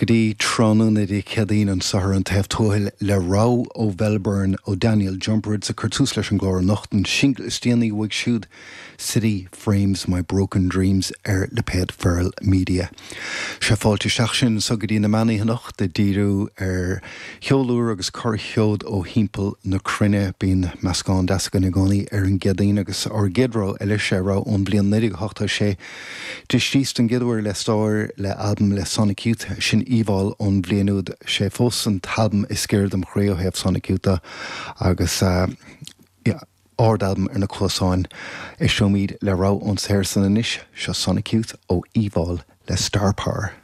Go dtí tráthnóna Dé Céadaoin anseo ar An Taobh Tuathail le rogha ó Mhelbourne ó Daniel Jumpertz ag cur tús leis an gclár anocht, an singil is déanaí uaidh siúd, City Frames My Broken Dreams ar lipéad Feral Media. Sé fáilte isteach sinn anseo go dtí na meánoíche anocht ag díriú ar cheol úr agus corrsheod ó thimpeall na cruinne. Bíonn meascán deas againn i gcónaí ar an gCéadaoin agus ár gcéad rogha eile, sé rogha ón bhliain 1986. D'éist don gcéad uair le stáir le albam le Sonic Youth, sin Evolve ón bhliain úd. Sé fós an t-albam is giorra dom chroí ó thaobh Sonic Youth de agus yeah, ard-albam ar na cluasáin. Éisteoimid le rogha ón saothar san anois, seo Sonic Youth ó Evolve le Star Power.